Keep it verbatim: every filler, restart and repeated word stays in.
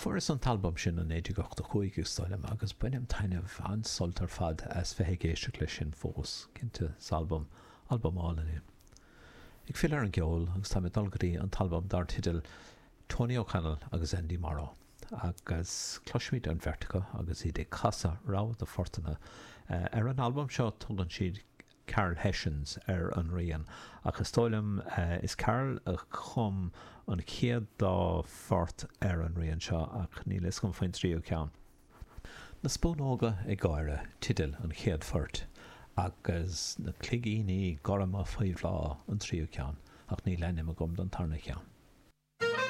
Fuaireas an t-albam sin i naoi déag ochtó cúig, is dóigh liom, agus bainim taitneamh, an-sult ar fad as bheith ag éisteacht leis sin fós. Cinnte, is albam, albam álainn é. Ag filleadh ar an gceol, agus táim ag dul go dtí an t-albam dar teideal Tony O'Connell agus Andy Morrow, agus cloisfimid an bheirt acu agus iad ag casadh rogha de phortanna. Ar an albam seo tugann siad Carol Hessions ar an rian, ach is dóigh liom is Carol a chum an chéad dá phort ar an rian seo, ach níl a fhios agam faoin tríú ceann. Na Spúnóga ag Gáire teideal an chéad phoirt, agus Na Cloigíní Gorma Faoi Bhláth an tríú ceann, ach níl ainm agam don tarna ceann.